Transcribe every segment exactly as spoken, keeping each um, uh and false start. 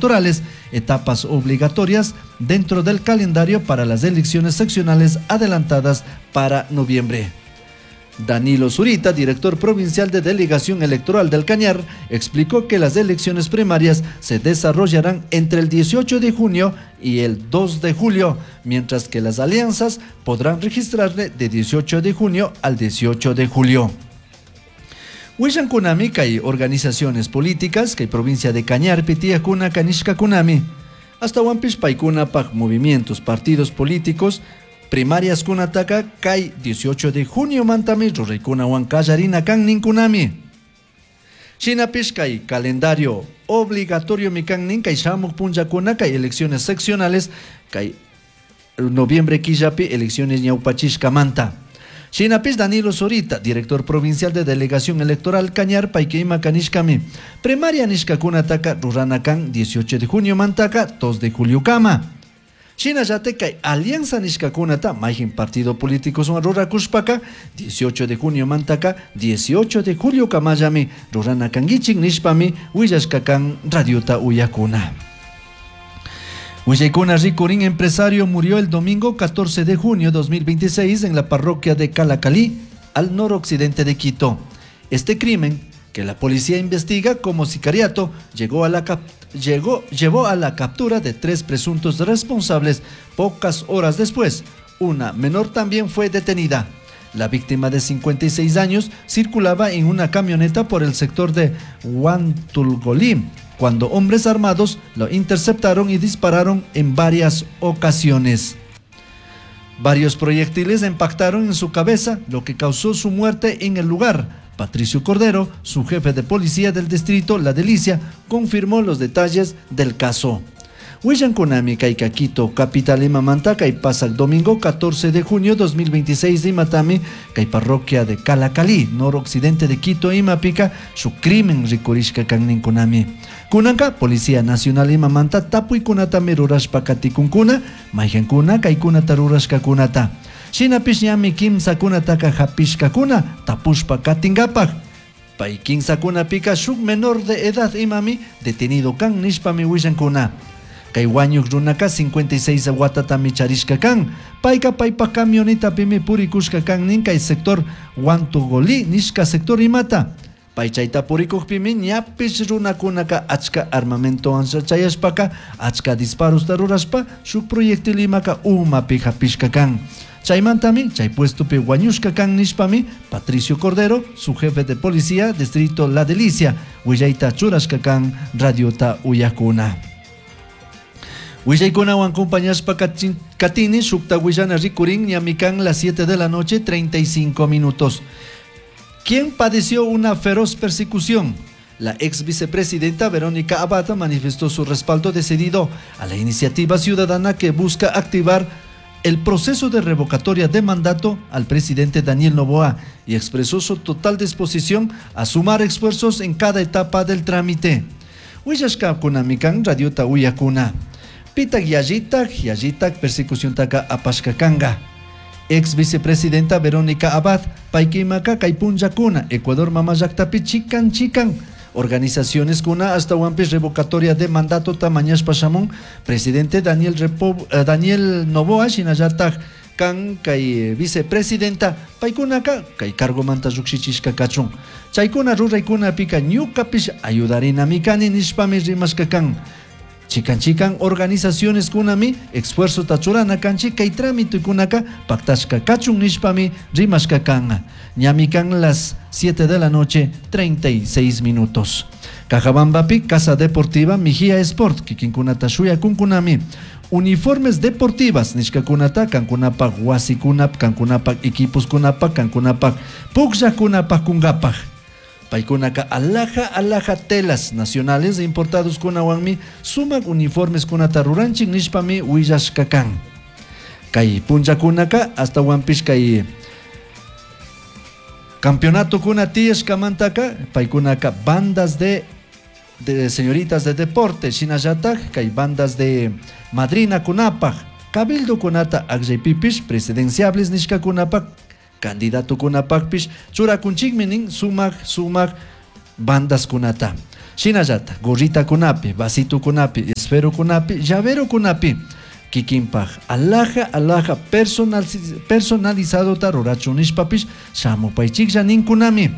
Electorales, etapas obligatorias dentro del calendario para las elecciones seccionales adelantadas para noviembre. Danilo Zurita, director provincial de Delegación Electoral del Cañar, explicó que las elecciones primarias se desarrollarán entre el dieciocho de junio y el dos de julio, mientras que las alianzas podrán registrarse de dieciocho de junio al dieciocho de julio. Willan kunami kay organizaciones políticas kay provincia de Cañar pitiyakuna kanishka kunami. Hasta paykunapaj movimientos, partidos políticos, primarias kunataka kay dieciocho de junio mantami ruraykunawan kallarina kan ninkunami. Shinapish kay calendario obligatorio mi kan nin kay shamuk punllakuna kay elecciones seccionales kay noviembre killapi elecciones ñawpachishkamanta. Shinapish Danilo Zurita, director provincial de Delegación Electoral Cañar, payka kanishkami. Primaria nishkakunataka rurana kan dieciocho de junio mantaka dos de julio kama. Shinallate kay alianza nishkakunata mayjin partido político son rurakushpaka dieciocho de junio mantaka dieciocho de julio kamayami rurana kangichik nishpami willashkakan radiota uyakuna. Willaykuna rikurin empresario murió el domingo catorce de junio de dos mil veintiséis en la parroquia de Calacalí, al noroccidente de Quito. Este crimen, que la policía investiga como sicariato, llegó a la cap-, llegó, llevó a la captura de tres presuntos responsables pocas horas después. Una menor también fue detenida. La víctima de cincuenta y seis años circulaba en una camioneta por el sector de Huantulgolí, cuando hombres armados lo interceptaron y dispararon en varias ocasiones. Varios proyectiles impactaron en su cabeza, lo que causó su muerte en el lugar. Patricio Cordero, su jefe de policía del distrito La Delicia, confirmó los detalles del caso. Willan kunami kay Quito, capital imamanta, kay pasa el domingo catorce de junio dos mil veintiséis de Imatami, kay parroquia de Calacalí, noroccidente de Quito, Imapica, su crimen rikurishka kannin kunami. Kunanka, Policía Nacional Imamanta, tapuykunatami rurashpa katikunkuna, mayhankuna kaykunata rurashkakunata. Shinapish ñami kimsakunataka hapishkakuna, tapushpa katinkapak. Pay kimsakunapika shuk menor de edad imami, detenido kan nishpami willankuna. Kay wañuk runaka cincuenta y seis watatami charishka kan. Payka paypa camionetapimi purikushka kan nin kay sector Huantugolí nishka sector imata. Pay chayta purikukpimi ñapish runakunaka achka armamento chayashpaka achka disparos rurashpa shuk proyectil imaka umapi hapishka kan. Chaymantami, chay puestopi wañushka kan nishpami, Patricio Cordero, su jefe de policía, distrito La Delicia, willayta churashka kan radiota uyakuna. Willaykunawan acompañashpa katini, shukta willana rikurin, ñamikan las siete de la noche, treinta y cinco minutos. ¿Quién padeció una feroz persecución? La ex vicepresidenta Verónica Abad manifestó su respaldo decidido a la iniciativa ciudadana que busca activar el proceso de revocatoria de mandato al presidente Daniel Noboa y expresó su total disposición a sumar esfuerzos en cada etapa del trámite. Willashka kunamikan radiota uyakuna. Pitak yayitak, yayitak persecución taka apashka kanga. Ex vicepresidenta Verónica Abad, paykimaka kaypunllakuna, Ecuador mamallaktapi chikan chikan. Organizaciones kuna hasta huampis revocatoria de mandato tamañas pashamón, presidente Daniel Repo, eh, Daniel Noboa, shinallatak kan kay vicepresidenta paykunaka kay cargo manta llukshichishka kachun. Chaykuna ruraykuna pika ñukapish ayudarina mikani nishpami rimashka kan. Chikan chikan organizaciones kunami esfuerzo tachurana kanchi kay trámite kunaka pactashka kachun nishpami rimashka kan. Ñami kan las siete de la noche, treinta y seis minutos. Cajabambapi, Casa Deportiva, Mijía Sport, kikinkunata shuya kunkunami. Uniformes deportivas, nishkakunata, kankunapak wasikunap, kankunapak equipos kunapak, kankunapak pukllakunapak kungapak. Paykunaka alhaja, alhaja telas nacionales e importados kunawanmi sumak uniformes kunata ruranchik nishpami willashkakan. Kay punllakunaka hasta wampish kay campeonato kuna tiyashkamantaka paykunaka bandas de, de señoritas de deporte shinallatak kay bandas de madrina kunapaj cabildo kunata akllaypipish presidenciables nishkakunapak candidato kunapakpish churakunchikmi nin sumak sumak bandas kunata. Shinallata, gorrita kunapi, vasito kunapi, esferokunapi, llaverokunapi kikinpaj alhaja alhaja personal, personalizadota rurachun nishpapish shamupaychiklla ninkunami.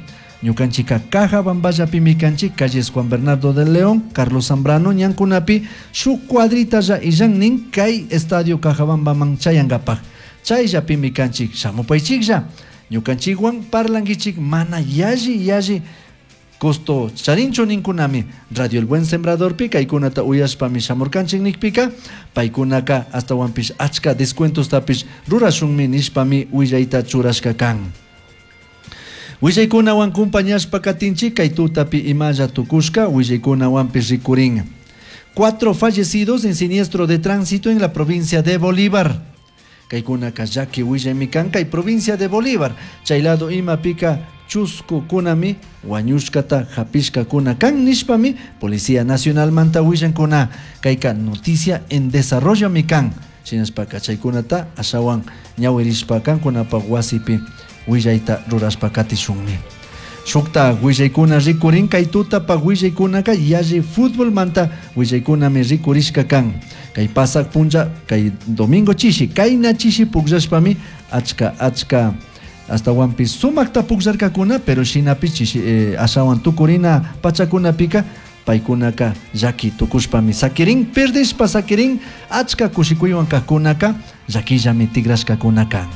Ñukanchika Cajabamballapimi kanchik, calles Juan Bernardo de León, Carlos Zambrano ñankunapi shuk cuadritalla illan nin kay estadio Cajabambaman chayankapak. Chayllapimi kanchik, shamupaychiklla. Ñukanchikwan parlankichik mana yalli yalli costo charinchu ninkunami. Radio El Buen Sembradorpi kaykunata uyashpami shamurkanchik nikpika paykunaka astawanpish achka descuentostapish rurashunmi nishpami willayta churashka kan. Willaykunawan compañashpa katinchik kay tutapi imalla tukushka willaykunawanpish rikurin. Cuatro fallecidos en siniestro de tránsito en la provincia de Bolívar. Kaykunaka llaki willaymi kan kay provincia de Bolívar. Chay lado imapika chuskukunami wañushkata hapishkakuna kan nishpami Policía Nacional manta willankuna. Kayka noticia en desarrollo mi kan. Shinashpaka chaykunata ashawan ñawirishpa kankunapaq wasipi willayta rurashpa katishunmi. Shukta willaykuna rikurin kay tutapaq willaykunaka yalli fútbol manta willaykunami rikurishka kan. Kay pasak punlla kay domingo chishi kayna chishi pukllashpami achka achka astawanpis sumakta pukllarkakuna, pero shinapish chishi, eh, ashawan tukurina pachakunapika paykunaka llaki tukushpami sakirin, perdishpa sakirin, achka kushikuywan kajkunaka llakillami tigrashkakuna kan.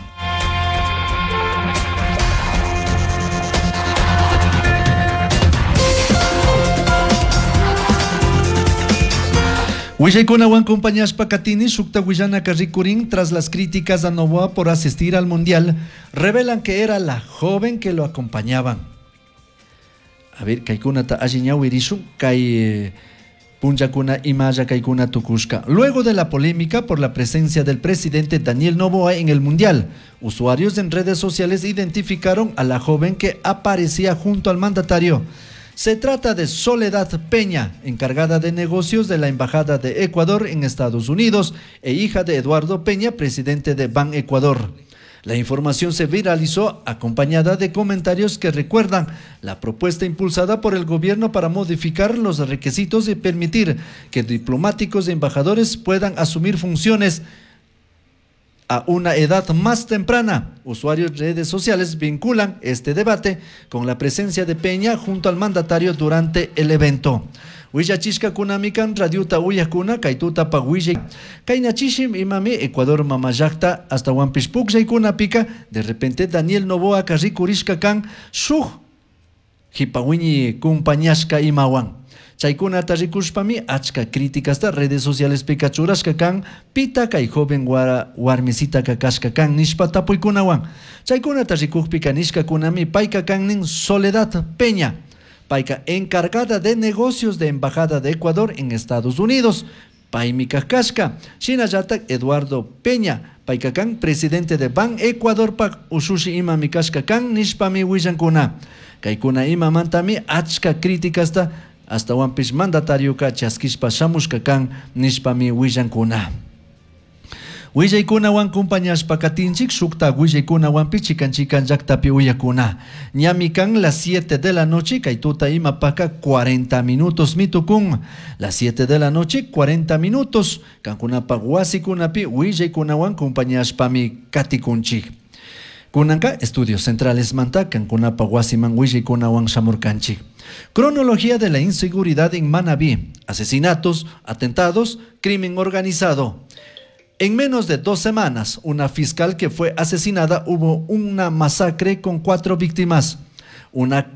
Willaykunawan compañashpa katini shukta willanaka rikurin tras las críticas a Noboa por asistir al mundial, revelan que era la joven que lo acompañaban. A ver, kaykunata alli ñawirishun, kay punllakuna imalla kaykuna tukushka. Luego de la polémica por la presencia del presidente Daniel Noboa en el mundial, usuarios en redes sociales identificaron a la joven que aparecía junto al mandatario. Se trata de Soledad Peña, encargada de negocios de la Embajada de Ecuador en Estados Unidos e hija de Eduardo Peña, presidente de Ban Ecuador. La información se viralizó acompañada de comentarios que recuerdan la propuesta impulsada por el gobierno para modificar los requisitos y permitir que diplomáticos e embajadores puedan asumir funciones a una edad más temprana. Usuarios de redes sociales vinculan este debate con la presencia de Peña junto al mandatario durante el evento. Willachishka kunamikan radiuta uyakuna kaytuta pa willay. Kaynachishim imami Ecuador mamallakta hasta wanpish pukllaykunapika de repente Daniel Noboa rikurishka kan shuk hipawiñi kumpañashka imawan. Chaykunata rikushpami achka críticasta redes sociales pika churashka kan pita kay joven wara, warmisitaka kashka kan nishpa tapuykunawan. Chaykunata rikukpika nishkakunami payka kan nin Soledad Peña, payka encargada de negocios de Embajada de Ecuador en Estados Unidos, paymi kashka. Shinallatak Eduardo Peña, payka kan presidente de Ban Ecuador pak ushushi imami kashka kan nishpami willankuna. Kaykuna imamantami achka críticasta hasta wanpish mandatarioka chaskishpa shamushka kan nishpami willankuna. Willaykunawan compañashpa katinchik shukta willaykunawanpi chikan chikan llaktapi uyakuna. Ñami kan las siete de la noche kay tuta imapaka cuarenta minutos mitukun. Las siete de la noche cuarenta minutos kankunapa wasikunapi willaykunawan compañashpami katikunchik. Kunanka Estudios Centrales manta kankunapa wasiman willaykunawan shamurkanchik. Cronología de la inseguridad en Manabí. Asesinatos, atentados, crimen organizado. En menos de dos semanas, una fiscal que fue asesinada, hubo una masacre con cuatro víctimas. Una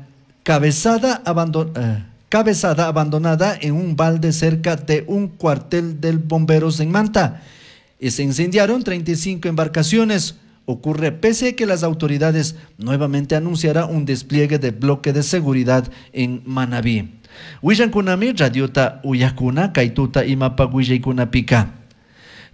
cabezada, abandon-, eh, cabezada abandonada en un balde cerca de un cuartel del bomberos en Manta. Y se incendiaron treinta y cinco embarcaciones. Ocurre pese a que las autoridades nuevamente anunciará un despliegue de bloque de seguridad en Manabí. Willankunami, radiota uyakuna, kaituta imapa willaykunapika.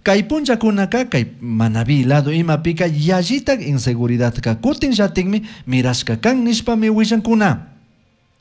Kay punllakunaka, kay Manabí lado imapika, yallitak inseguridad ka kutin llatikmi mirashka kan nishpami willankuna.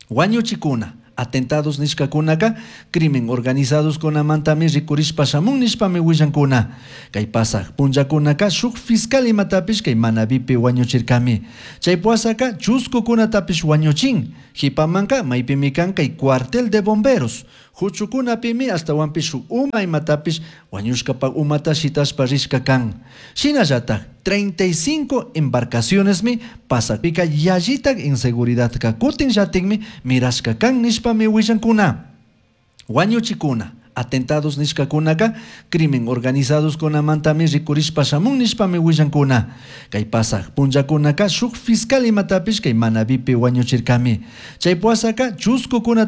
Wañuchikuna, atentados nishkakunaka, crimen organizados kunamantami rikurishpa shamun nishpami willankuna. Kay pasaj punllakunaka, shuk fiscal imatapish kay Manabipi wañuchirkami. Chay puasaka, chuskukunatapish wañuchin. Jipamanka, maypimi kan kay cuartel de bomberos. Huchukunapimi ashtahuanpish shuk uma imatapish wañushkapak umata shitashpa rishka kan. Shinallatak treinta y cinco embarcacionesmi pasakpika yallitak inseguridadka kutinllatikmi mirashka kan nishpami willankuna. Wañuchikuna, atentados nishkakunaka crimen organizados kunamantami rikurishpa shamun nishpami willankuna. Kay pasak punllakunaka shuk fiscal imatapish kay Manabipi wañuchirkami. Chay puasaka chuskukunata